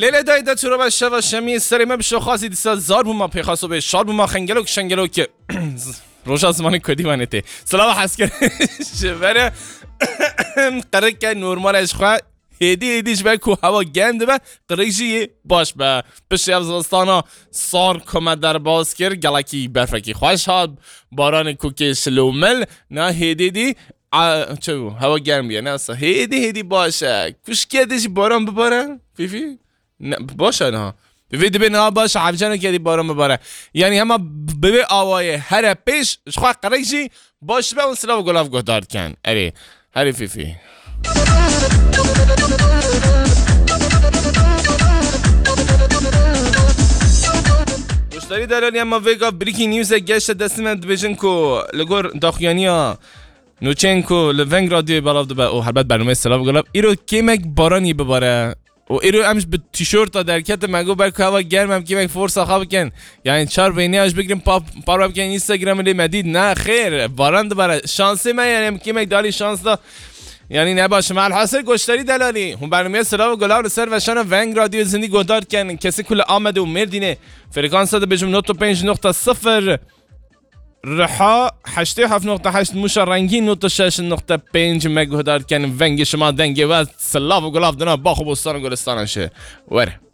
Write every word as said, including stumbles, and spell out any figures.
Ele dayê de çiroba şeva şemiyê serê me bi şoxasî dîsa zar bûma pêxaso bê şar bûma xengelok şengelok ki. Roja zimanê kurdî vanê tê. Silava heskir. Ji vere qirike normal e ji xwe. Hêdî hêdî ji ber ku hewa germ dibe, qirik jî yê baş be. Piştî ev zivistana sar ku me derbas kir, gelekî berfekî xweş hat, baranê ku kê şilomil, na hêdî dî, a, çi bû? Hewa germ bûye, ne wisa. Hêdî hêdî baş e. Kuşkiye dê jî baran bibare, Fîfî? Ne, baş e niha. Fîfî dibê niha baş e, hevceno ke dî baran bibare. Yanî hema bi vê awayê here pêş, ji xwe qirik jî baş be û silav û gulav guhdar dikin. Erê, herê Fîfî. Goşdarî delalî, em ma vê gav breaking newsek geşte destê me, dibêjin ku li gor daxuyaniya nûçeyên ku li Veng Radyoyê belav dibe û helbet bernameyê Silav û Gulav, îro kêmek baranî bibare û îro em ji bi tîşorta derketin, me got ber ku hewa germ em kêmek forsa xwe bikin. Yanî çar vêniya ji bigirin pa-, parve bikin Instagramê lê me dît. Ne xêr, baran dibare. Şansê me, yanî em kêmek dalî şans da. Yanî ne baş e. Elhasil goşdarî delalî. Hûn bernameyê Silav û Gulav li ser weşana Veng Radyoyê zindî guhdar dikin. Kesê ku li Amedê û Mêrdînê frekansa dibêjim nod û pênc nokta sifir. Riha heştê heft nokta heşt, Mûşa Rengîn nod û şeş nokta pênc, me guhdar dikin. Vengê şima, dengê we, silav û gulav dina bax û bostan û gulistana şi. Were.